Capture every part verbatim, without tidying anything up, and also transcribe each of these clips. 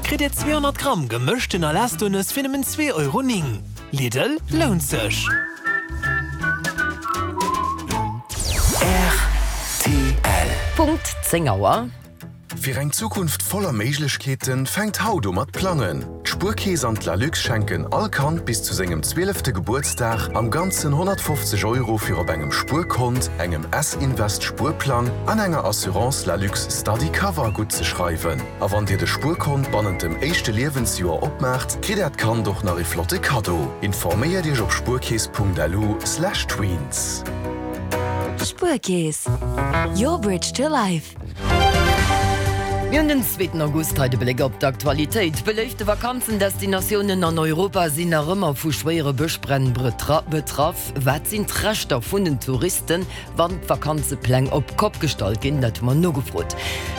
Kritt Dir zweehonnert Gramm gemëschten Alesto-Nëss fir nëmmen zwee Euro néng. Lidl, lount sech! Rtl. Punkt zéng Auer. Fir eng Zukunft voller Méiglechkeeten fänkt haut u mat plangen. D'Spuerkeess an d'Lalux schenken all Kand bis zu sengem zwielefte Gebuertsdag am Ganzen honnertfofzeg Euro fir op engem Spuerkont, engem S-Invest Spuerplang an enger Assurance Lalux Study Cover guttzeschreiwen. A wann Dir de Spuerkont bannent dem éischte Liewensjoer opmaacht, kritt Äert Kand och nach ee flotte Kaddo. Informéiert Iech op spuerkeess.lu slash tweens. Spuerkeess, your bridge to life. Mir hunn den zweeten August, hei de Bléck op d'Aktualitéit. Beléifte Vakanzendestinatiounen an Europa sinn nach ëmmer vu schwéiere Bëschbränn betraff. Wat sinn d'Rechter vun den Touristen, wann d'Vakanzepläng op d'Kopp gestallt ginn? Dat hu mer nogefrot.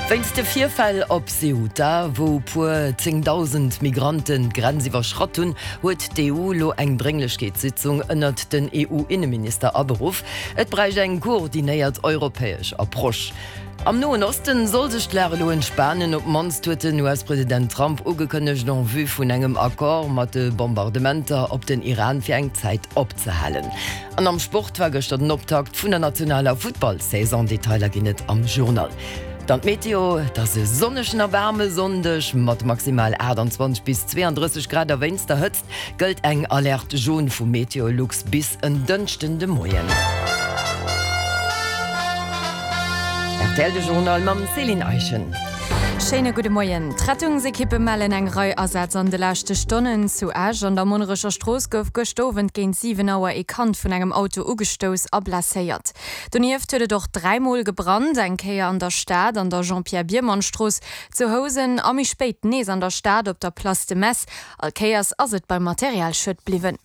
Wéinst de Virfäll op Ceuta, wou puer zéngdausend Migranten d'Grenz iwwerschratt hunn, huet d'E U lo eng Drénglechkeetssitzung ënnert den E U-Inneminister aberuff. Et bräicht eng koordinéiert europäesch Approche. Am Noen Osten soll sech d'Lag elo entspanen, op d'mannst huet den U S-President Trump ugekënnegt, en vue vun engem Accord mat de Bombardementer op den Iran fir eng Zäit opzehalen. An am Sport war gëschter den Optakt vun der nationaler Futtball-Saison, Detailer ginn et am Journal. Dann d'Meteo, Et ass e sonnegen a waarme Sonndeg mat maximal aachtanzwanzeg bis zweeandrësseg Grad a wéinst der Hëtzt gëllt eng Alerte jaune vu Meteolux bis en Dënschden de Moien. Rtl de Journal mam Céline Eischen. Schéine gudde Moien. D'Rettungsekippe mellen eng Rei Asätz an de leschte Stonnen. Zu Esch an der Monnerecher Strooss gouf gëscht Owend géint siwen Auer ee Kand vun engem Auto ugestouss a blesséiert. Donieft huet et och dräi Mol gebrannt, eng Kéier an der Stad an der Jean-Pierre Biermann-Strooss, zu Housen a méi spéit nees an der Stad op der Place de Metz. All Kéiers ass et beim Materialschued bliwwen.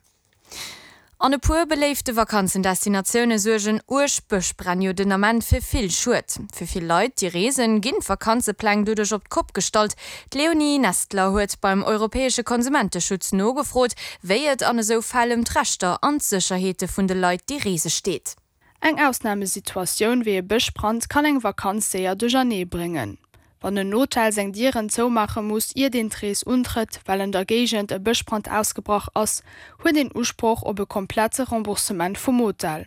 An e puer beléifte Vakanzendestinatioune suergen uerg Bëschbränn jo den Ament fir vill Schued. Fir vill Leit, déi reesen, ginn d'Vakanzepläng doduerch op d'Kopp gestallt. D'Leonie Nestler huet beim europäesche Konsumenteschutz nogefrot, wéi et an esou Fäll ëm d'Rechter an d'Sécherheete vun de Leit, déi reese steet. Eng Ausnamesituatioun wéi e Bëschbrand kann eng Vakanz séier duerchernee bréngen. Wann en Hotel seng Dieren zoumaache muss, iert een d'Rees untrëtt, well an der Géigend e Bëschbrand ausgebrach ass, huet een Usproch op e komplette Remboursement vum Hotel.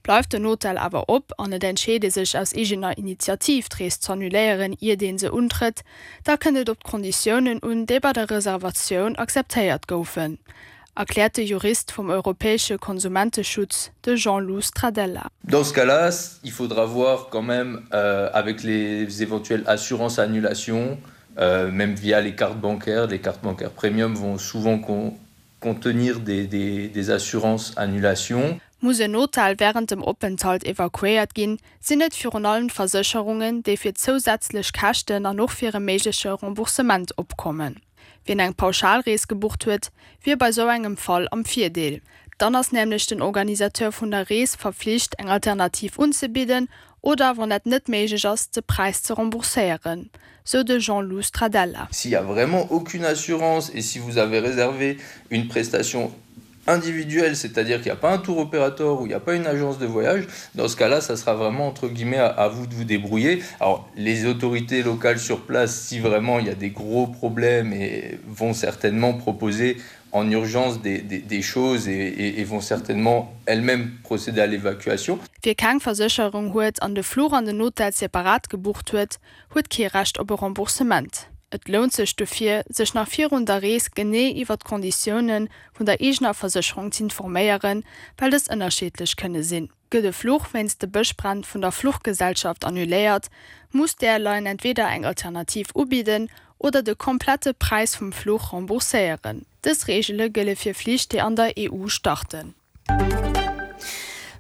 Bleift den Hotel awer op an et entscheet ee sech aus eegener Initiativ d'Rees z'annuléieren, iert ee se untrëtt, da kënnt et op d'Konditiounen un, déi bei der Reservatioun akzeptéiert goufen, erkläert de Jurist vum europäesche Konsumenteschutz, de Jean-Lou Stradella. Dans ce cas-là, il faudra voir quand même euh, avec les éventuelles assurances annulation, euh, même via les cartes bancaires. Les cartes bancaires premium vont souvent con contenir des, des, des assurances annulation. Muss en Hotel wärend dem Openthalt evakuéiert ginn, sinn et virun allem d'Versécherungen, déi fir zousätzlech Käschten an och fir e méigleche Remboursement opkommen. Wien eng Pauschalrees gebucht huet, wier bei sou engem Fall am Virdeel. Dann ass nämlech den Organisateur vun der Rees verflicht, eng Alternativ unzebidden oder, wann dat net méiglech ass, de Präis ze rembourséieren, sou de Jean-Lou Stradella. S'il y a vraiment aucune assurance et si vous avez réservé une prestation individuelle, c'est-à-dire qu'il n'y a pas un tour opérateur ou il n'y a pas une agence de voyage, dans ce cas-là, ça sera vraiment entre guillemets à, à vous de vous débrouiller. Alors les autorités locales sur place, si vraiment il y a des gros problèmes, et vont certainement proposer en urgence des, des, des choses et, et, et vont certainement elles-mêmes procéder à l'évacuation. Wie keng Versécherung huet an de Fluch an den Hotel separat gebucht huet, huet kee Recht op e Remboursement. Et lount sech dofir, sech nach virun der Rees genee iwwer d'Konditioune vun der eegener Versécherung z'informéieren, well dës ënnerschiddlech kënne sinn. Gëtt e Fluch wéinst de Bëschbränn vun der Fluchgesellschaft annuléiert, muss d'Airline entweder eng Alternativ ubidden oder de komplette Präis vum Fluch rembourséieren. Dës Reegele gëlle fir Flich, déi an der E U starten.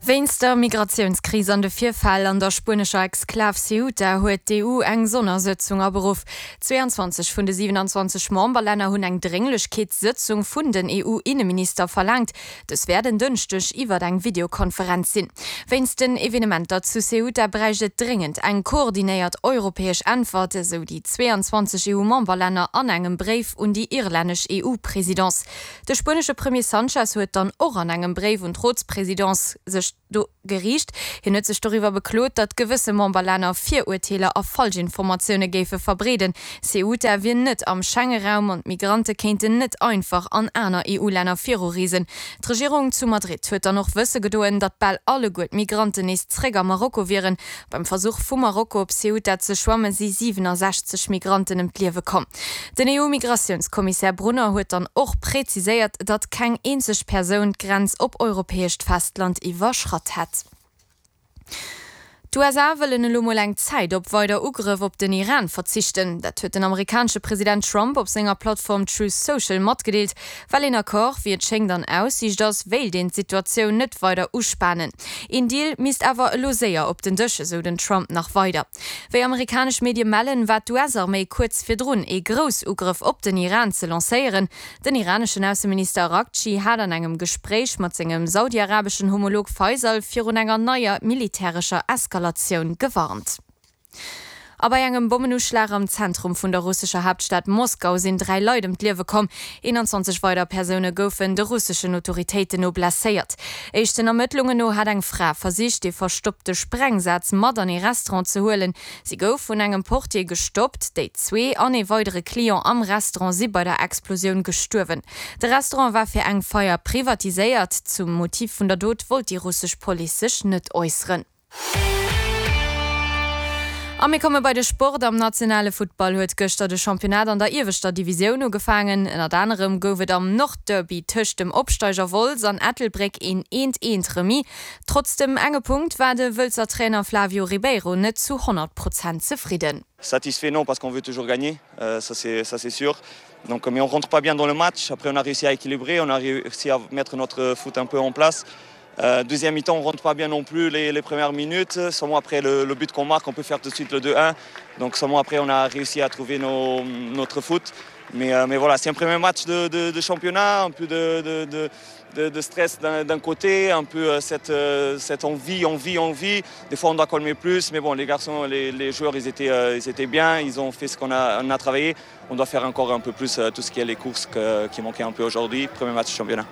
Wéinst der Migratiounskris an de Virfäll an der spuenescher Exklav Ceuta huet d'E U eng Sonnersëtzung aberuff. zweiundzwanzeg vun de siewenundzwanzeg Memberlänner hunn eng Drénglechkeetssëtzung vun den E U-Inneminister verlaangt. Dës wäert en Dënschdeg iwwer eng Videokonferenz sinn. Wéinst den Evenementer zu Ceuta bräicht et dréngend eng koordinéiert europäesch Äntwert, esou déi zweiundzwanzeg E U-Memberlänner an engem Bréif un déi irlännesch E U-Presidence. De spuenesche Premier Sanchez huet dann och an engem Bréif un d'Rotspresidence sech do geriicht. Hien huet sech doriwwer beklot, datt gewësse Memberlänner Virurteeler a Falschinformatioune géife verbreeden. Ceuta wier net am Schengeraum an d'Migrante kéinten net einfach an aner EU-Länner virureesen. D'Regierung zu Madrid huet dann och wësse gedoen, datt bal alleguer d'Migranten nees zréck a Marokko wieren. Beim Versuch vu Marokko op Ceuta ze schwamme si siwenasechzeg Migranten ëm d'Liewe komm. Den EU-Migratiouns-Kommissär Brunner huet dann och präziséiert, datt keng eenzeg Persoun d'Grenz op europäescht Festland iwwerschratt hätt. D'USA wëllen elo mol eng Zäit op weider Ugrëff op den Iran verzichten. Dat huet den amerikanesche President Trump op senger Plattform Truth Social matgedeelt. Well een Accord, wéi et schéngt, an Aussiicht ass, wéilt een d'Situatioun net weider uspanen. Een Deal misst awer elo séier op den Dësch, esou den Trump nach weider. Wéi amerikanesch Medie mellen, war d'US-Arméi kuerz virdrun, ee Groussugrëff op den Iran ze lancéieren. Den iraneschen Ausseminister Araghchi hat an engem Gespréich mat sengem saudiarabeschen Homolog Faisal virun enger neier militärescher Eskalatioun gewarnt. A bei engem Bommenuschlag am Zentrum vun der russescher Haaptstad Moskau sinn dräi Leit ëm d'Liewe komm. eenanzwanzeg weider Persoune goufen de russeschen Autoritéiten no blesséiert. Éischten Ermëttlungen no hat eng Fra versicht, ee verstoppte Sprengsaz mat an ee Restaurant ze huelen. Si gouf vun engem Portier gestoppt. Déi zwee an ee weidere Client am Restaurant si bei der Explosioun gestuerwen. De Restaurant war fir eng Feier privatiséiert. Zum Motiv vun der Dot wollt déi russesch Police sech net äusseren. A mir komme bei de Sport. Am nationale Futtball huet gëschter de Championnat an der ieweschter Divisioun ugefaangen. Ënnert anerem gouf et am Nordderby tëscht dem Opsteiger Wolz an Ettelbréck een Eent-Eent-Remis. Trotz dem enge Punkt war de Wëlzer Trainer Flavio Ribeiro net zu honnert Prozent zefridden. Satisfait non parce qu'on veut toujours gagner, ça c'est ça c'est sûr. Donc mais on rentre pas bien dans le match, après on a réussi à équilibrer, on a réussi à mettre notre foot un peu en place. Euh, deuxième mi-temps, on rentre pas bien non plus les, les premières minutes. Seulement après le, le but qu'on marque, on peut faire tout de suite le deux un. Donc seulement après, on a réussi à trouver nos, notre foot. Mais, euh, mais voilà, c'est un premier match de, de, de championnat, un peu de, de, de, de, de stress d'un côté, un peu euh, cette, euh, cette envie, envie, envie. Des fois, on doit calmer plus, mais bon, les garçons, les, les joueurs, ils étaient, euh, ils étaient bien, ils ont fait ce qu'on a, on a travaillé. On doit faire encore un peu plus euh, tout ce qui est les courses que, qui manquaient un peu aujourd'hui. Premier match de championnat.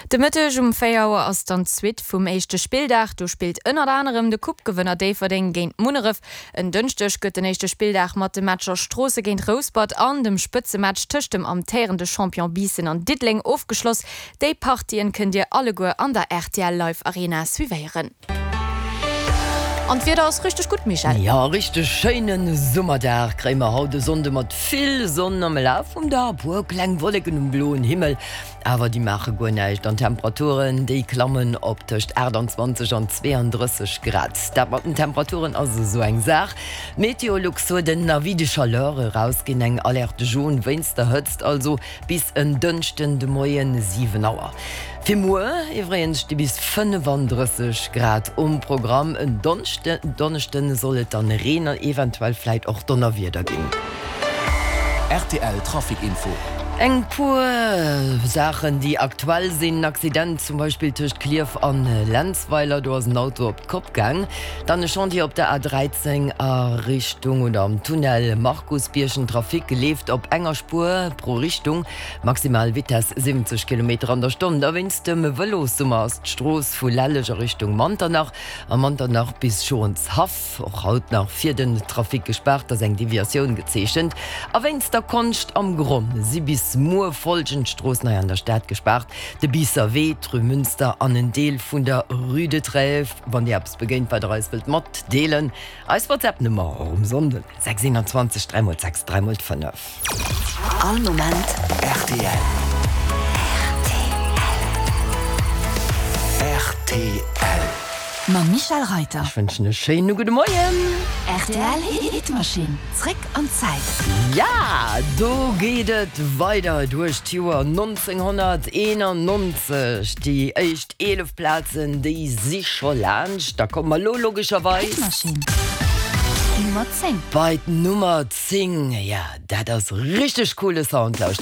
De Mëtteg um véier Auer ass dann d'Suite vum éischte Spilldag. Do spillt ënnert anerem de Coupe-Gewënner Déifferdeng géint Munneref. En Dënschdeg gëtt den éischte Spilldag mat de Matcher Stroosse géint Rouspert an dem Spëtzematch tëscht dem amtéierende Champion Biissen an Diddeleng ofgeschloss. Déi Partien kënnt Dir alleguer an der R T L Live Arena suivéieren. An d'Wieder ass richteg gutt, Michèle. Jo, richteg schéine Summerdag kréie mer haut de Sonnde mat vill Sonn am Laf vum Dag, e puer kleng Wolleken um bloen Himmel, awer déi maache guer näischt an d'Temperaturen, déi klammen op tëscht achttanzwanzeg an zweeëndrësseg Grad. Dat mat den Temperaturen ass esou eng Saach. Meteolux huet en Avis de chaleur erausginn, eng Alerte jaune wéinst der Hëtzt, also bis en Dënschden de Moien siwen Auer. Fir muer iwwregens sti bis fënnefandrësseg Grad um Programm. En Donneschden soll et dann Reen an eventuell vläit och Donnerwieder ginn. Rtl Trafic Info. Eng puer Saachen déi aktuell sinn, En Accident zum Beispill tëscht Klierf an Lenzweiler, do ass en Auto op d'Kopp gaang. Dann e Chantier op der A dräizéng a Richtung oder am Tunnel Markusbierg, den Trafic leeft op enger Spuer pro Richtung, maximal Vitess siwwenzeg Kilometer an der Stonn. Da wéinst dem Vëlossummer ass d'Strooss vu Lelleg a Richtung Manternach a Manternach bis Schonshaff och haut nach fir den Trafic gespaart, ass eng Deviatioun gezeechent. A wéinst der Konscht am Gronn si bis muer folgend Stroossen hei an der Stad gespaart, de Biisser Wee, d'Rue Münster an en Deel vun der Rue de Trèves. Wann Dir eppes begéint, wat Der eis wëllt matdeelen, eis WhatsApp-Nummer och um Sonnden, sechs eenanzwanzeg dräi mol sechs dräi mol fënnef. All Moment rtl. Rtl. Mam Michèle Reyter. Ech wënschen e schéine gudde Moien. Rtl Hitmaschinn, zréck an d'Zäit. Ja, do geet et weider duerch d'Joer nonzénghonnerteenannonzeg. Déi éischt eelef Plazen, déi si scho laanscht. Da komme mer elo logescherweis. Hitmaschinn, Nummer zéng. Bei d'Nummer zéng. Ja, dat ass richteg coole Sound. Lauschtert.